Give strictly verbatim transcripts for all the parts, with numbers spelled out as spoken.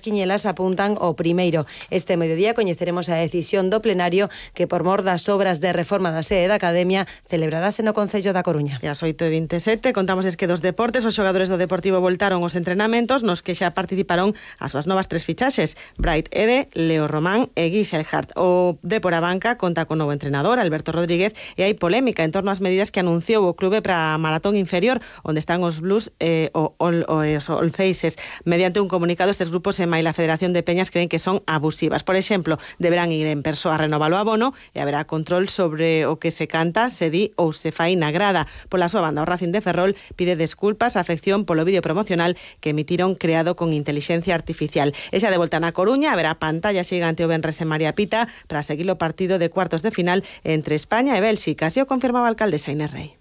Quiñelas apuntan ao primeiro. Este mediodía coñeceremos a decisión do plenario que, por mor das obras de reforma da sede da Academia, celebrarase no Concello da Coruña. E ás oito e vinte e sete contamos es que dos deportes os xogadores do Deportivo voltaron aos entrenamentos nos que xa participaron as súas novas tres fichaxes, Bright Ede, Leo Román e Guy Selhart. O Depor a banca conta con novo entrenador, Alberto Rodríguez, e hai polémica en torno ás medidas que anunciou o clube para a maratón inferior, onde están os Blues e o, o, o, os All Faces. Mediante un comunicado, estes grupos e mai la Federación de Peñas creen que son abusivas. Por exemplo, deberán ir en persoa a renovar o abono e haberá control sobre o que se canta, se di ou se fai na grada. Pola súa banda, o Racing de Ferrol pide desculpas á afección polo vídeo promocional que emitiron creado con inteligencia artificial. E xa de volta na Coruña haberá pantalla xigante o venres en María Pita para seguir o partido de cuartos de final entre España e Bélxica. Así o confirmaba a alcaldesa Inés Rey.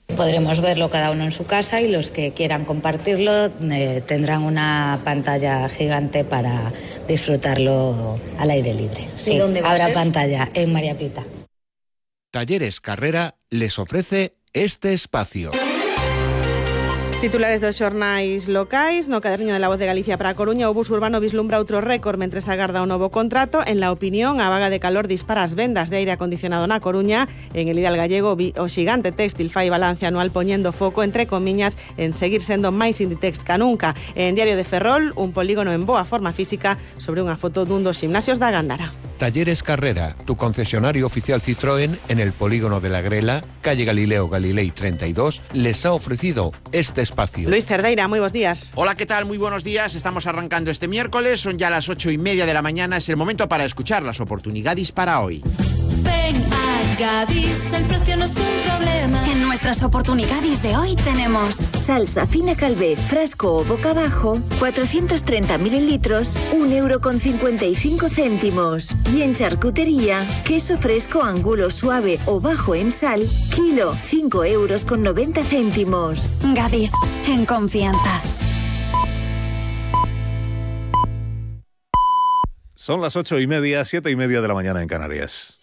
Podremos verlo cada uno en su casa y los que quieran compartirlo eh, tendrán una pantalla gigante para disfrutarlo al aire libre. Sí, ¿dónde va a ser? Habrá pantalla en María Pita. Talleres Carrera les ofrece este espacio. Titulares dos xornais locais. No caderniño de La Voz de Galicia para a Coruña, o bus urbano vislumbra outro récord mentre se agarda o novo contrato. En La Opinión, a vaga de calor dispara as vendas de aire acondicionado na Coruña. En El Ideal Gallego, o xigante téxtil fai balance anual poñendo foco, entre comiñas, en seguir sendo máis Inditex ca nunca. En Diario de Ferrol, un polígono en boa forma física sobre unha foto dun dos gimnasios da Gándara. Talleres Carrera, tu concesionario oficial Citroën en el polígono de La Grela, calle Galileo Galilei treinta y dos, les ha ofrecido este espacio. Luis Cerdeira, muy buenos días. Hola, ¿qué tal? Muy buenos días. Estamos arrancando este miércoles, son ya las ocho y media de la mañana, es el momento para escuchar las oportunidades para hoy. Ven a Gadis, el precio no es un problema. En nuestras oportunidades de hoy tenemos salsa fina Calvé, frasco o boca abajo, cuatrocientos treinta mililitros, un euro con cincuenta y cinco céntimos. Y en charcutería, queso fresco angulo suave o bajo en sal, kilo, cinco euros con noventa céntimos. Gadis, en confianza. Son las ocho y media, siete y media de la mañana en Canarias.